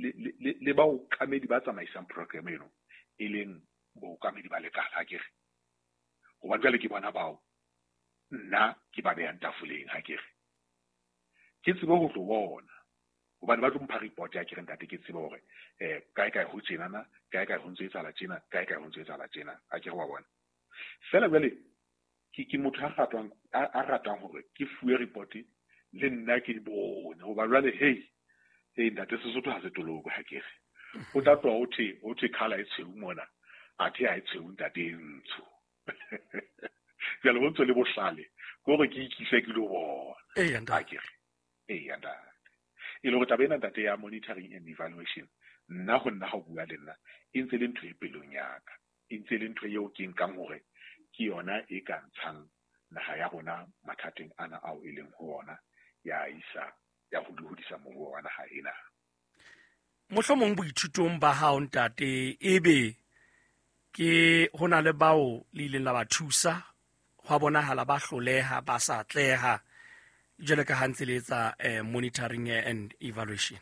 le baokamedi ba tsamaisang program eno, e leng baokamedi ba lekala, akere. Hobane jwale ke bona bao nna ke ba behang tafoleng, akere. Ke tsebe ho tlo bona, hobane ba tlo mpha report ya kere ntate, ke tsebe hore kae kae ho tjenana, kae kae ho ntso etsahala tjena, kae kae ho ntso etsahala tjena, akere wa bona. Feela jwale ke motho a ratang hore ke fuwe report le nna ke bone, hoba jwale hey hey ntate, Sesotho ha se toloko, ha kere. O tla tloha ho thwe colour e tshweu mona, athe ha e tshweu ntate, e ntsho. Jwale ho ntso le bohlale ke hore ke ikise ke lo bona. Eya, ntate. Akere. Eya ntate. E le hore taba ena ntate ya monitoring and evaluation, nna ho nna ha o bua le nna, e ntse le ntho e pelong ya ka. E ntse le ntho eo ke nkang hore ke yona e ka ntshang naha ya rona mathateng ana ao e leng ho ona, ya isa ya ho hodisa moruo wa naha ena. Mohlomong boithutong ba hao ntate, ebe ke ho na le bao le ileng la ba thusa, hwa bonahala ba hloleha, ba sa atleha, jwale ka ha ntse le etsa monitoring and evaluation?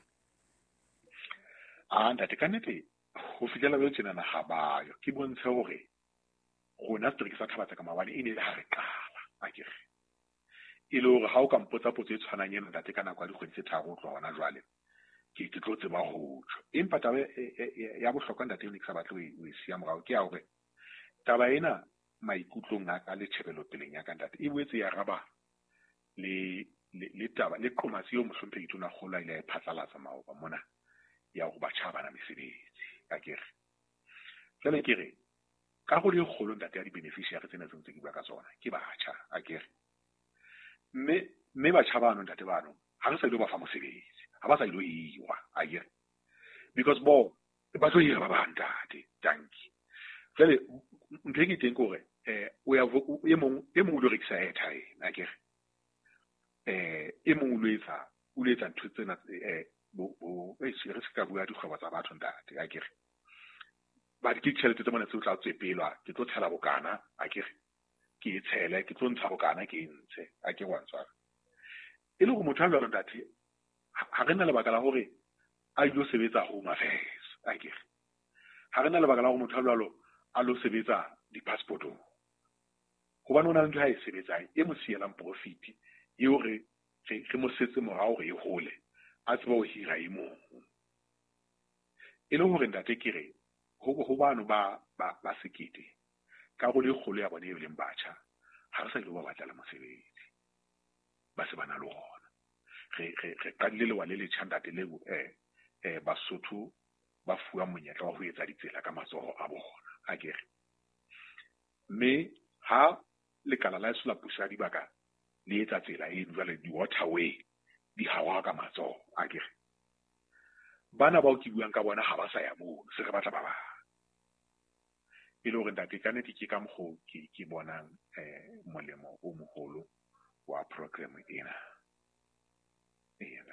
A ntate, ka nnete ho fihlela jwale tjenana ha bayo. Ke bontshe hore rona setereke sa Thaba-Tseka maobane e ne le ha re qala, akere. E le hore ha o ka mpotsa potso e tshwanang ena ntate ka nako ya dikgwedi tse 3 ho tloha hona jwale, ke tlo tseba ho tjho. Empa taba ya bohlokwa ntate eo ne ke sa batle ho e siya morao ke ya hore taba ena maikutlong a ka le tjhebelopeleng ya ka ntate e boetse ya araba le taba le qomatsi eo mohlomphehi Tonakgolo a ile a e phatlalatsa maoba mona ya hore batjha ha bana mesebetsi, akere. Jwale ke re karolo e kgolo ntate ya di-beneficiary tsena tse ntse ke bua ka tsona ke batjha, akere. Mme batjha bano ntate bano ha re sa ilo ba fa mosebetsi, ha ba sa ilo hirwa, akere. Because bo ba tlo hira ba bang ntate, dankie. Jwale ntho e ke teng ke hore o ya e mong o lo rekisa airtime, akere. E mong o lo etsa ntho tsena bo re se ka bua dikgwebo tsa batho ntate, akere. Ba ke ditjhelete tse mona tse o tla tswepelwa, ke tlo tshela bokana, akere. Ke e tshele, ke tlo ntsha bokana, ke e ntshe, akere wa ntshwara. E le hore motho a jwalo ntate, ha re na lebaka la hore a ilo sebetsa Home Affairs, akere. Ha re na lebaka la hore motho a jwalo a lo sebetsa di-passportong. Hobane o na le ntho a e sebetsang e mo sielang profit eo re mo setse morao hore e hole, a tsebe ho hira e mong. E le hore ntate ke re ho bano ba 1000, karolo e kgolo ya bona e leng batjha, ha re sa ilo ba batlela mosebetsi, ba se ba na le ona. Re qadile lewa le letjha ntate leo Basotho ba fuwa monyetla wa ho etsa ditsela ka matsoho a bona, akere. Mme ha lekala la heso la puso ya dibaka le etsa tsela eno jwale di-waterway di hawa ka matsoho, akere. Bana bao ke buang ka bona ha ba sa ya mono, se re batla ba bang. E le hore ntate ka nnete ke ka mokgo ke bonang molemo o moholo wa program ena. Eya.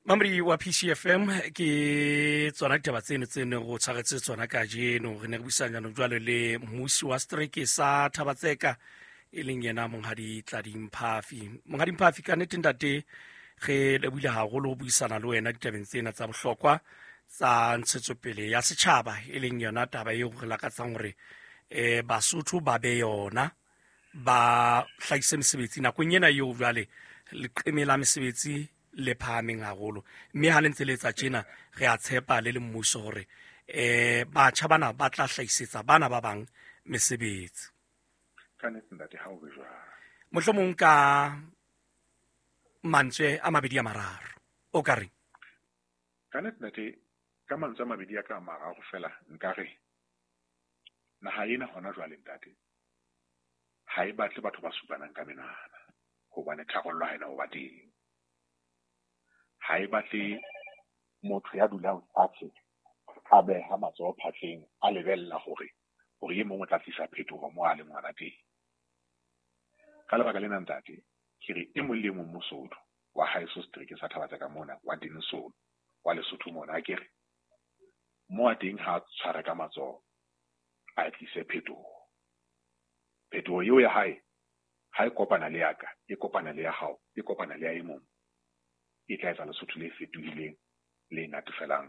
Mamri wa PCFM, ke tsona ditaba tseno tse neng go tshwaretse tsona kajeno. Re ne re buisana jaanong jwale le mmusi wa setereke sa Thaba-Tseka, e leng yena Monghadi Tladi Mphafi. Monghadi Mphafi, ka nnete ntate re lebohile haholo ho buisana le wena ditabeng tsena tsa bohlokwa tsa ntshetsopele ya setjhaba, e leng yona taba eo re lakatsang hore Basotho ba be yona, ba hlahise mesebetsi nakong ena eo jwale leqeme la mesebetsi le phahameng haholo. Mme ha le ntse le etsa tjena, re a tshepa le le mmuso hore batjha bana ba tla hlahisetsa bana ba bang mesebetsi. Ka nnete ntate, ha o be jwalo. Mohlomong ka mantswe a mabedi a mararo o ka reng? Ka nnete ntate, ka mantswe a mabedi a ka a mararo fela nka re naha ena hona jwale ntate ha e batle batho ba supanang ka menwana, hobane tharollo ha ena ho ba teng. Ha e batle motho ya dulang fatshe a beha matsoho phatleng a lebella hore e mong o tla tlisa phetoho mo a leng hona teng. Ka lebaka lena ntate, ke re e mong le e mong Mosotho wa haeso setereke sa Thaba-Tseka mona, wa Dennilson, wa Lesotho mona, akere mo a teng ha a tshware ka matsoho a tlise phetoho. Phetoho eo ya hae ha e kopana le ya ka, e kopana le ya hao, e kopana le ya e mong, e tla etsa Lesotho le fetohileng le natefelang.